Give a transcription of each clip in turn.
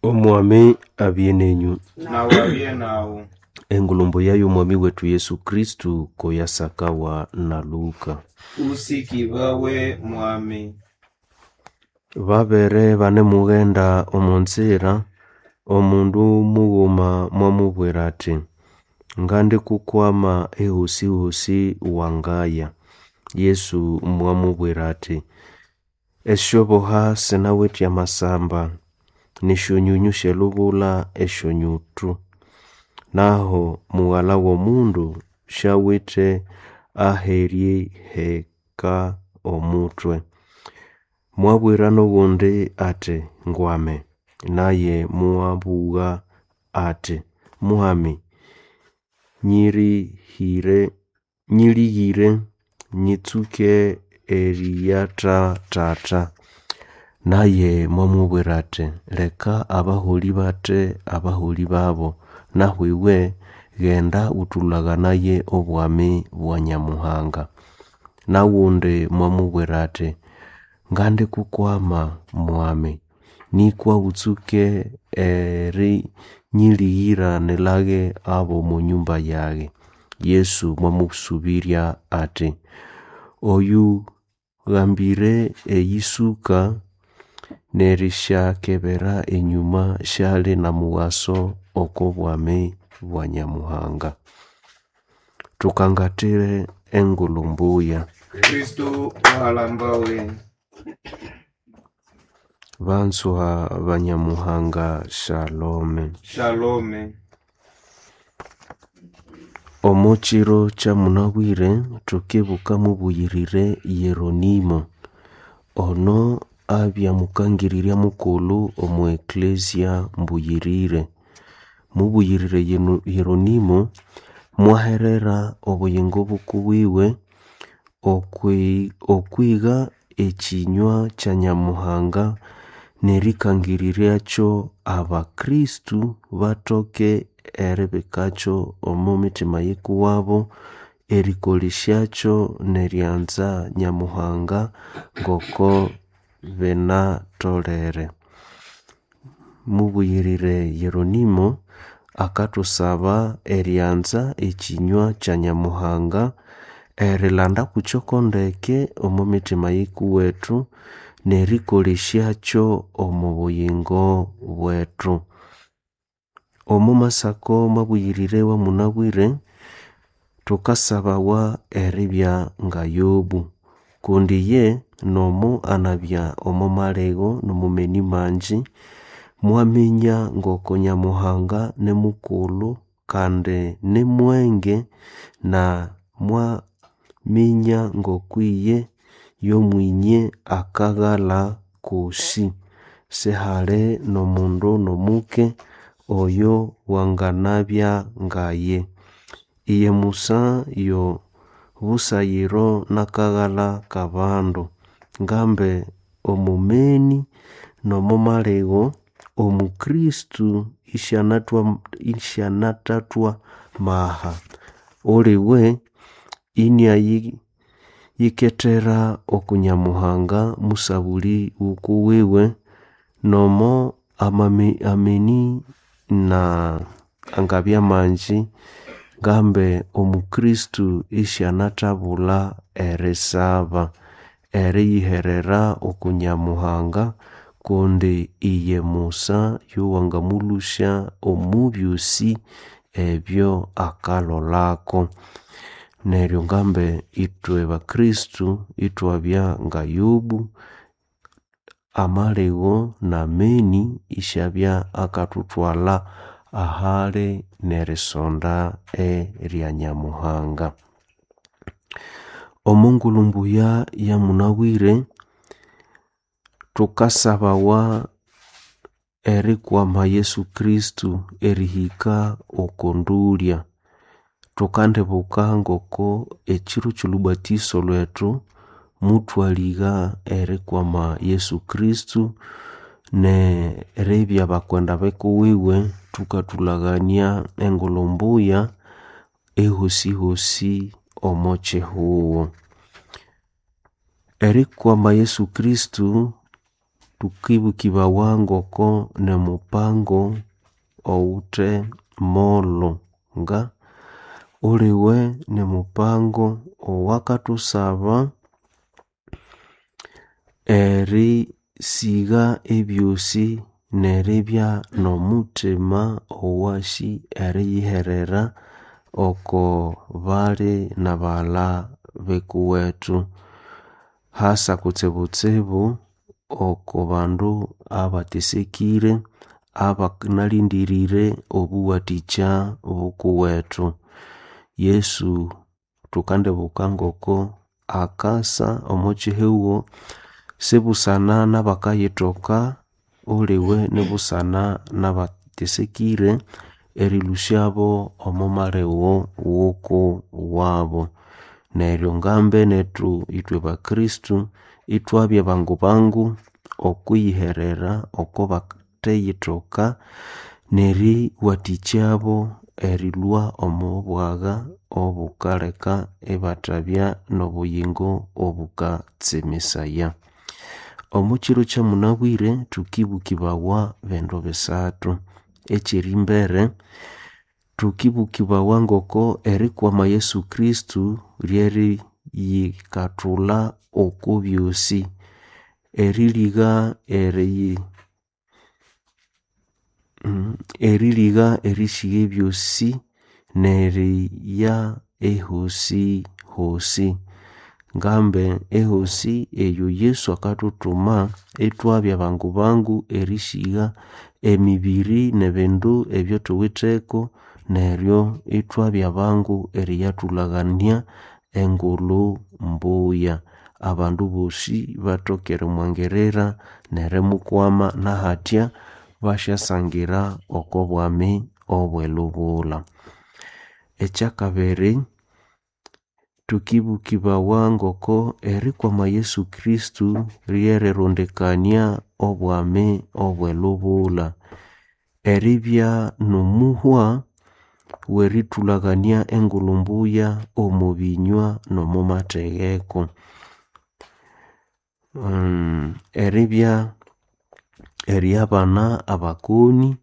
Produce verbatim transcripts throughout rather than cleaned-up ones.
Omwami abye nenyu. Nawe abye nawu. Engulumbu yayo Omwami wetu Yesu Kristu koyasakawa na Luka. Usikibawe mwami. Babere banemughenda omo nzira, omundu mughuma mwamubwira ati, ngandikukwama ehosi-hosi wangaya. Yesu mwamubwira ati, esyoboha sinawithe amasamba, n'esyonyunyu syelubula esyonyutu, naho mughala w'omundu syawithe aheriheka omutwe. Mwabwira n'ogundi ati, ngwame, naye mwabugha ati, Mwami, nyirihire nyilighire nyitsuke eriyatha tata. Naye mwamubwira ati, leka abaholi bathe abaholi babo, nahu iwe ghenda ghutulaganaye obwami bwa Nyamuhanga. N'aghundi mwamubwira ati, ngandikukwama Mwami, nikwa ghutsuke erinyilighira nilaghe ab'omo nyumba yaghe. Yesu mwamusubirya ati, oyughambire eyisuka n'erisyakebera enyuma syali n'omughaso oko bwami bwa Nyamuhanga. Thukangathire engulhu mbuya. Kristu muhalambawe. Banzwa ba Nyamuhanga Shalome. Shalome. Omo kiro kyamunabwire thukibuka mubuyirire Yeronimo. Ono abya mukangirirya mukulhu omo eklezia mbuyirire. Mubuyirire Yeronimo mwaherera obuyingo bukuwiwe okwi okwiga ekinywa kya Nyamuhanga n'erikangiriryacho abakristu bathoke eribikakyo omo mithima yikuwabo, erikolesyakyo n'eryanza Nyamuhanga ngoko binatholere. Mubuyirire Yeronimo akathusaba eryanza ekinywa kya Nyamuhanga, erilanda kukyoko ndeke omo mithima yikuwethu, n'erikolesyakyo omo buyingo bwethu. Omo masako mabuyirire wamunabwire, thukasabawa eribya nga Yobu, kundi iye nomo anabya omo maligho n'omo meni mangi, mwaminya ngoko Nyamuhanga nimukulhu kandi nimwenge, na mwaminya ngokwiye yomwinye akaghalha kosi. Sihali n'omundu n'omuke oyo wanganabya ngaye. Iye Musa yo busayiro nakaghalha k'abandu. Ngambe omo meni n'omo maligho, omukristu isyanathwa isyanathathwa maha. Uliwe iniayikethera oku Nyamuhanga musabuli wukuwiwe nomo amame ameni na angabya mangi, ngambe omukristu isyanathabulha erisaba, eriyiherera oku Nyamuhanga kundi iye Musa yowangamulhusya omo byosi ebyo akalholako. Neryo ngambe ithwe bakristu ithwabya nga Yobu, amaligho n'ameni isyabya akathuthwalha ahali n'erisonda erya Nyamuhanga. Omo ngulhu mbuya yamunabwire, thukasabawa erikwama Yesu Kristu erihika oko ndulya. Thukandibuka ngoko ekiro ky'olhubatiso lhwethu muthwaligha erikwama Yesu Kristu n'eribya bakwenda bikuwiwe thukathulhaghania engulhu mbuya ehosi-hosi omo kihugho. Erikwama Yesu Kristu Tukibukibawa ngoko nemupango owuthe molo nga uliwe nemupango owakathusaba erisigha ebyosi neribya nomuthima owasi eriyiherera oko bali nabaghalha bikuwethu hasa kutsibutsibu oko bandu abathesekire abanalindirire obuwathikya bukuwethu. Yesu thukandibuka ngoko akasa omo kyihugho sibusana nabakayithoka uliwe nibusana nabathesekire erilhusyabo omo maligho wuku wabo. Neryo ngambe nethu ithwe bakristu ithwabya bangu bangu okwiyiherera oko batheyithoka neriwathikyabo erilhwa omo bwagha obukaleka ibathabya nobuyingo obukatsemesaya. Omo kyiro kyamunabwire thukibukibawa bindu bisathu. Ekyerimbere, thukibukibawa ngoko erikwama Yesu Kristu ryeriyikathulha oko byosi. Eriligha eriyi eriligha erisigha ebyosi neriya ehosi hosi. Ngambe ehosi eyo Yesu akathuthuma ithwabya bangu bangu erisigha emibiri nebindu ebyathuwitheko neryo ithwabya bangu eriyathulhagania engulhu mbuya. Abandu bosi bathoke erimwangirira nerimukwama nahathya basyasangira oko bwami obwelubulha. Ekyakabiri, thukibukibawa ngoko erikwama Yesu Kristu ryerirundikania obwami obwelubulha. Eribya nomuhwa werithulhaghania engulhu mbuya omo binywa nomomathegeko. Eribya eriabana abakoni,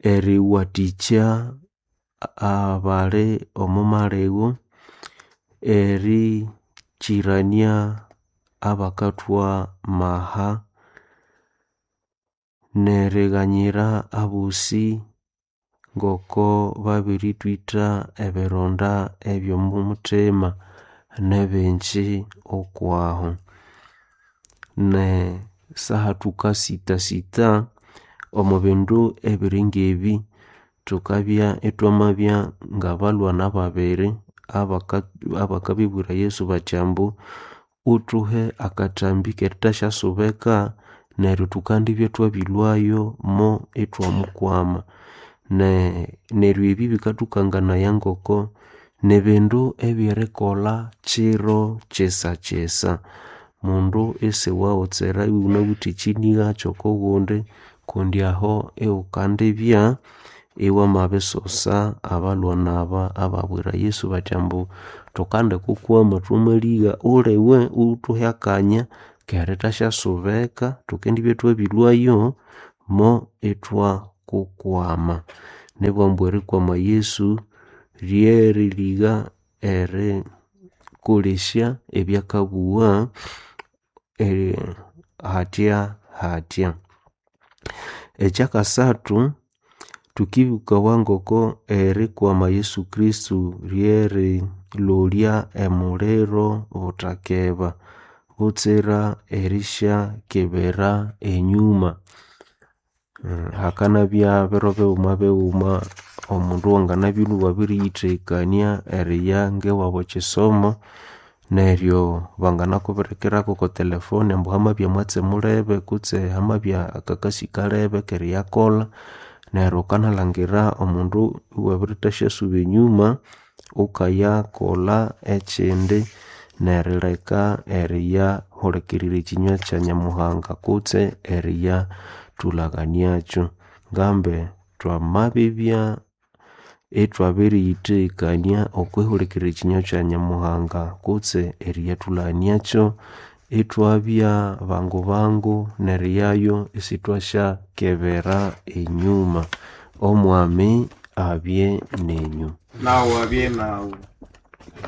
eriwathikya abali omo maligho, erikyirania abakathwa maha, nerighanyira abosi ngoko babirithwitha ebironda ebyomo muthima nebingi okwahu. Ne saha thukasitasita omo bindu ebiri ngebi, thukabya ithwamabya ngabalhwana babiri abaka abakabibwira Yesu bathi ambu wuthuhe akathambi kerithasyasobeka neryo thukandibya ithwabilhwayo mo ithwamukwama. Ne neryo ebi bikathukanganaya ngoko nibindu ebyerikolha kiro kyisakyisa. Mundu isiwaghotsera iwunawithe ekyinigha kyokogundi kundi aho iwukandibya iwamabisosa abalhwana aba ababwira Yesu bathi ambu thukandikukwama thwamaligha uliwe iwuthuhe akanya kerithasyasobeka thukendibya ithwabilhwayo mo ithwakukwama. Nibughambu erikwama Yesu ryeriligha erikolesya ebyakabugha hathya hathya. Ekyakasathu, thukibukawa ngoko erikwama Yesu Kristu ryerilolya emuliro buthakeba butsira erisyakebera enyuma. Hakanabya biro bighuma bighuma omundu wanganabya iwabiriyithekania eriya ngewabu ekyisomo neryo banganakubirikirako okwa telefone ambu hamabya mwatsi mulebe kutse hamabya akakasi kalebe akeriyakolha neryo wukanalhangira omundu iwabirithasyasuba enyuma wukayakolha ekyindi nerileka eriyahulikirira ekyinywa kya Nyamuhanga kutse eriyathulhaghaniakyu. Ngambe thwamabibya ithwabiriyithekania okwihulikirira ekinywa kya Nyamuhanga kutse eriyathulhaghaniakyu. Ithwabya bangu-bangu neriyayo isithwasyakebera enyuma. Omwami abye nenyu. Nawe abye nawe.